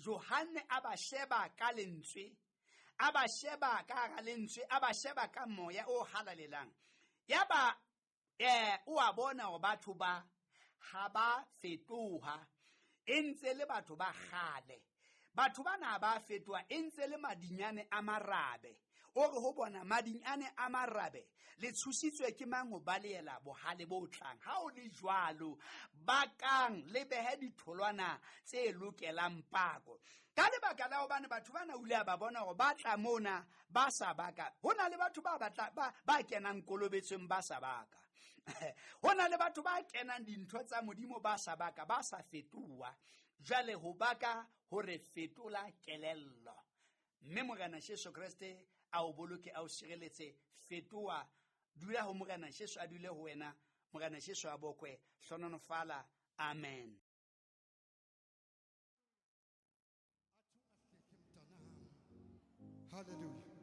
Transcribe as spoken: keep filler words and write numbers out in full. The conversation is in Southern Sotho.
Johanne a ba sheba ka lentswe, a ba sheba ka hara lentswe, a ba sheba ka moya o halalelang. Yaba eh o a bona hore batho ba ha ba fetoha, e ntse le batho ba kgale. Batho bana ba fetoha, e ntse le madinyane a marabe. O re ho bona, madinyane a marabe, le tshositswe ke mang ho balehela bohale bo tlang? Ha o le jwalo, bakang le behe ditholwana tse lokelang pako. Ka lebaka la hobane batho bana o ile a ba bona hore ba tla mona ba sa baka. Ho na le batho ba batla, ba, ba kenang kolobetsong ba sa baka. Ho na le batho ba kenang dintho tsa Modimo ba sa baka, ba sa fetoha. Jwale ho baka ho re fetola kelello. Mme Morena Jesu Kreste a o boloke, a o sireletse. Fetoha, dula ho Morena Jesu, a dule ho wena. Morena Jesu a bokwe, hlohonolofala. Amen. Hallelujah.